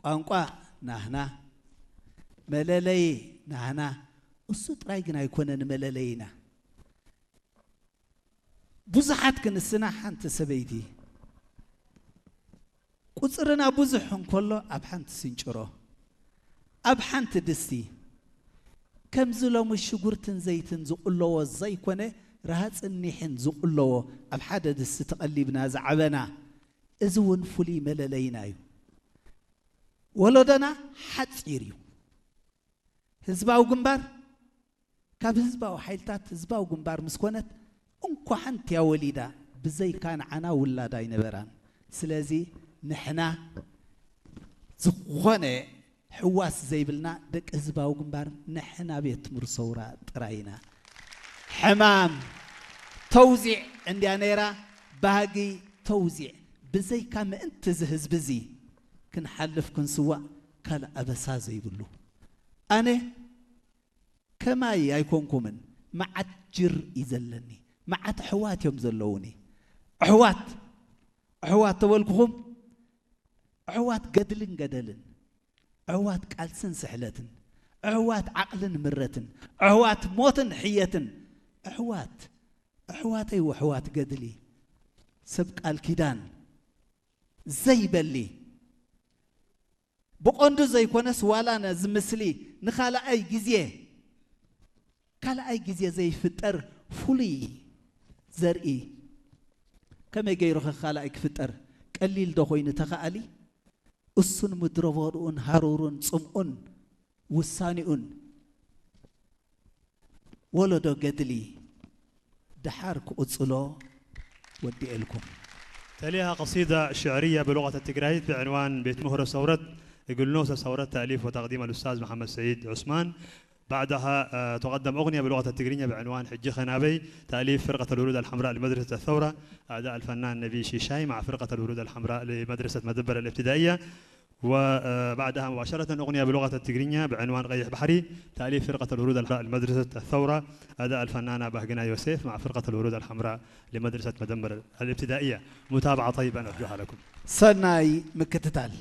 ቋንቋ ናህና፣ መለለይ ናህና። እሱ ጥራይ ግን ኣይኮነን መለለይና። ብዙሓት ክንስና ሓንቲ ሰበይቲ፣ ቁጽርና ብዙሕ እንከሎ ኣብ ሓንቲ ስንጭሮ፣ ኣብ ሓንቲ ድስቲ፣ ከምዚ ሎሚ ሽጉርትን ዘይትን ዝቕለዎ ዘይኮነ፣ ረሃጽን ኒሕን ዝቕለዎ ኣብ ሓደ ድስቲ ተቐሊብና ዝዓበና፣ እዚ እውን ፍሉይ መለለይና እዩ። ወለዶና ሓጺር እዩ። ህዝባዊ ግንባር ካብ ህዝባዊ ሓይልታት ህዝባዊ ግንባር ምስ ኮነት እንኳ ሓንቲ እያ ወሊዳ፣ ብዘይካ ንዓና ውላድ ኣይነበራን። ስለዚ ንሕና ዝኾነ ሕዋስ ዘይብልና ደቂ ህዝባዊ ግንባር ንሕና ቤት ትምህርቲ ሰውራ ጥራይ ኢና። ሕማም ተውዚዕ እንድያ ነይራ፣ ባህጊ ተውዚዕ። ብዘይካ ምእንቲ እዚ ህዝቢ እዚ ክንሓልፍ ክንስዋእ ካልእ ኣበሳ ዘይብሉ። ኣነ ከማይ ኣይኮንኩምን፣ መዓት ጅር እዩ ዘለኒ። መዓት ኣሕዋት እዮም ዘለዉኒ። ኣሕዋት፣ ኣሕዋት ተበልኩኹም፣ ኣሕዋት ገድልን ገደልን፣ ኣሕዋት ቃልስን ስሕለትን፣ ኣሕዋት ዓቕልን ምረትን፣ ኣሕዋት ሞትን ሕየትን፣ ኣሕዋት፣ ኣሕዋተይ ወኣሕዋት ገድሊ፣ ሰብ ቃል ኪዳን ዘይበሊ፣ ብቐንዱ ዘይኮነስ ዋላ ነዚ ምስሊ ንኻልኣይ ግዜ፣ ካልኣይ ግዜ ዘይፍጠር ፍሉይ ዘርኢ ከመይ ገይሩ ኸ ካልኣይ ክፍጠር? ቀሊል ዶ ኮይኑ ተኻኣሊ? እሱን ምድረ በድኡን ሃሩሩን ጽምኡን ውሳኔኡን ወለዶ ገድሊ ደሓር ክቕጽሎ ወዲኤልኩም። تليها قصيدة شعرية بلغة التجريت بعنوان ቤት ምህሮ ሰውረት እግል ኖሰ ሰውረት تأليف وتقديم الأستاذ محمد سعيد عثمان. بعدها آه، تقدم أغنية بلغة التجرينية بعنوان ሕጂ ኸ ናበይ تأليف فرقة الورود الحمراء لمدرسة الثورة أداء الفنان نبي شيشاي مع فرقة الورود الحمراء لمدرسة مدبر الابتدائية. وبعدها مباشرة أغنية بلغة التجرينية بعنوان قيح بحري تأليف فرقة الورود الحمراء لمدرسة الثورة أداء الفنانة بهجنة يوسف مع فرقة الورود الحمراء لمدرسة مدمر الابتدائية. متابعة طيبة نرجوها لكم. ሰናይ ምክትታል።